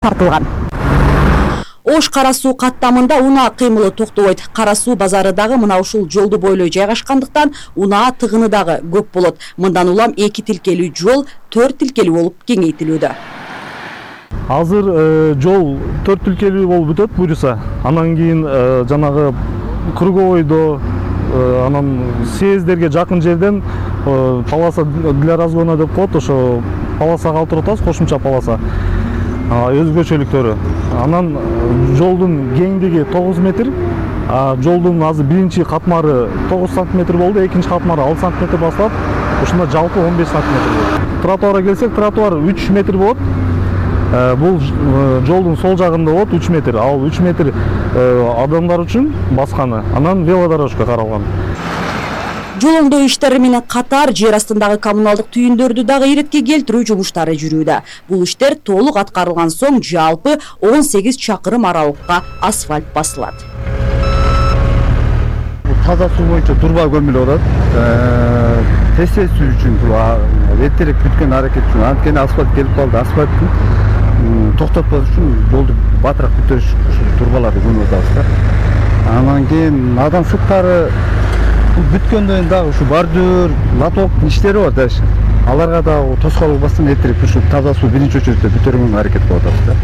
тартылган. Ош Кара суу каттамында унаа кыймылы токтобойт. Кара суу базары дагы мына ушул жолду бойлой жайгашкандыктан унаа тыгыны дагы көп болот. Мындан улам 2 тилкелүү жол 4 тилкелүү болуп кеңейтилүүдө. Азыр жол 4 тилкелүү болуп бүтөт буюрса. Анан кийин жанагы круговойдо анан съездерге жакын жерден полоса для разгона деп коет, ошо полосага алып турабыз, кошумча полоса. Өзгөчөлүктөрү. Анан жолдун кеңдиги 9 метр, жолдун азыр биринчи катмары 9 сантиметр болду, экинчи катмары 6 сантиметр басылат. Ушунда жалпы 15 сантиметр болот. Тротуарга келсек, тротуар 3 метр болот. Бул жолдун сол жагында болот 3 метр. Ал 3 метр адамдар үчүн басканы. Анан велодорожка каралган. Жол оңдоо иштери менен катар жер астындагы коммуналдык түйүндөрдү дагы иретке келтирүү жумуштары жүрүүдө. Бул иштер толук аткарылган соң жалпы 18 чакырым аралыкка асфальт басылат. Таза суу боюнча турба көмүлүп атат. Тесеси үчүн эртерээк бүткөн аракет үчүн анткени асфальт келип калды. Асфальттын токтотпош үчүн жолду батыраак бүтүрүш турбаларды көмүп атабыз да. Анан кийин адам суктары бүткөндөн дагы ушу бордюр, лоток иштери бар да. Аларга дагы тоскоолдук бастан эртерээк ушу таза суу биринчи очередде бүтүрүүгө аракет кылып атабыз да.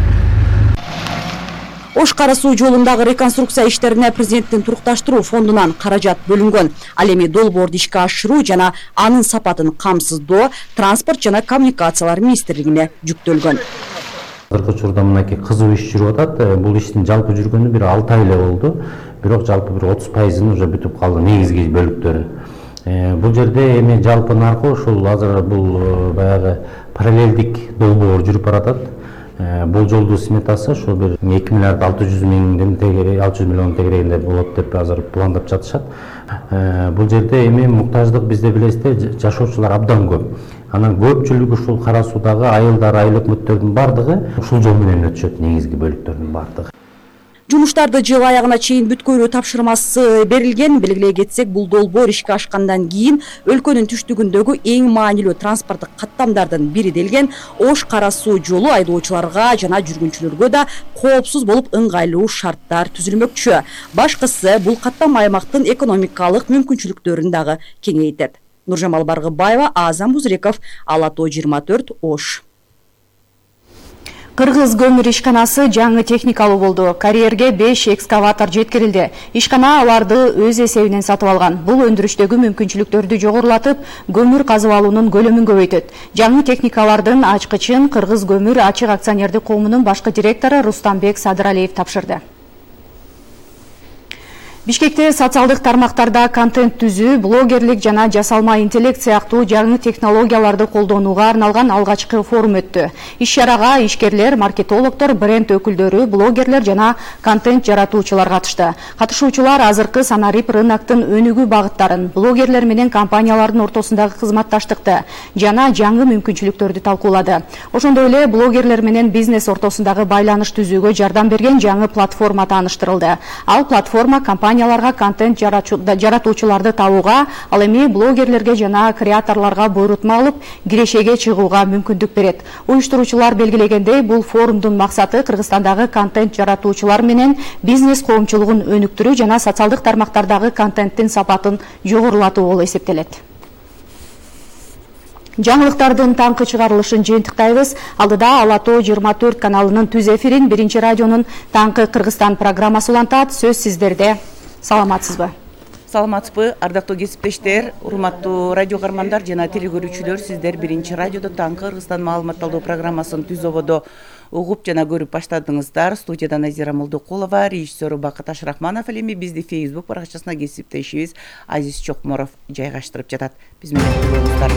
Ош Кара суу жолундагы реконструкция иштерине президенттин турукташтыруу фондунан каражат бөлүнгөн. Ал эми долбоорду ишке ашыруу жана анын сапатын камсыздоо транспорт жана коммуникациялар министрлигине жүктөлгөн. Азыркы учурда мынакей кызуу иш жүрүп атат. Бул иштин жалпы жүргөнү бир 6 ай эле болду. Бирок жалпы бир 30% уже бүтүп калды негизги бөлүктөрү. Бул жерде эми жалпы наркы ушул азыр бул баягы параллелдик долбоор жүрүп баратат. Бул жолдун сметасы ошол бир 2 миллиард 600 миллион тегерегинде болот деп азыр пландап жатышат. Бул жерде эми муктаждык бизде билесиздер жашоочулар абдан көп. Анан көпчүлүгү ушул Кара суудагы айылдар, айыл өкмөттөрдүн бардыгы ушул жол менен өтүшөт, негизги бөлүктөрдүн бардыгы. Жумуштарды жыл аягына чейин бүткөрүү тапшырмасы берилген. Белгилей кетсек, бул долбоор ишке ашкандан кийин өлкөнүн түштүгүндөгү эң маанилүү транспорттук каттамдардын бири делген Ош Кара суу жолу айдоочуларга жана жүргүнчүлөргө да коопсуз болуп ыңгайлуу шарттар түзүлмөкчү. Башкысы бул каттам аймактын экономикалык мүмкүнчүлүктөрүн дагы кеңейтет. Нуржамал Баргыбаева, Азам Бузреков, Ала Тоо 24, Ош. Кыргыз көмүр ишканасы жаңы техникалуу болду. Карьерге 5 экскаватор жеткирилди. Ишкана аларды өз эсебинен сатып алган. Бул өндүрүштөгү мүмкүнчүлүктөрдү жогорулатып, көмүр казып алуунун көлөмүн көбөйтөт. Жаңы техникалардын ачкычын Кыргыз көмүр ачык акционердик коомунун башкы директору Рустамбек Садыралиев тапшырды. Бишкекте социалдык тармактарда контент түзүү, блогерлик жана жасалма интеллект сыяктуу жаңы технологияларды колдонууга арналган алгачкы форум өттү. Иш-чарага ишкерлер, маркетологдор, бренд өкүлдөрү, блогерлер жана контент жаратуучулар катышты. Катышуучулар азыркы санарип рыноктун өнүгүү багыттарын, блогерлер менен компаниялардын ортосундагы кызматташтыкты жана жаңы мүмкүнчүлүктөрдү талкуулады. Ошондой эле блогерлер менен бизнес ортосундагы байланыш түзүүгө жардам берген жаңы платформа тааныштырылды. Ал платформа компанияларга контент жаратуучуларды табууга, ал эми блогерлерге жана креаторлорго буйрутма алып, кирешеге чыгууга мүмкүндүк берет. Уюштуруучулар белгилегендей, бул форумдун максаты Кыргызстандагы контент жаратуучулар менен бизнес коомчулугун өнүктүрүү жана социалдык тармактардагы контенттин сапатын жогорулатуу болуп эсептелет. Жаңылыктардын таңкы чыгарылышын жыйынтыктайбыз. Алдыда Ала Тоо 24 каналынын түз эфирин Биринчи радионун Таңкы Кыргызстан программасы улантат. Сөз сиздерде. Саламатсызбы? Саламатсызбы, ардактуу кесиптештер, урматтуу радио кармандар жана телегөрүүчүлөр, сиздер Биринчи радиодо Таңкы Кыргызстан маалыматталуу программасын түз ободо угуп жана көрүп баштадыңыздар. Студияда Назира Молдокулова, режиссеру Бакыт Ашрахманов, эми бизди Facebook баракчасына кесиптешибиз Азиз Чокморов жайгаштырып жатат. Биз менен болуңуздар.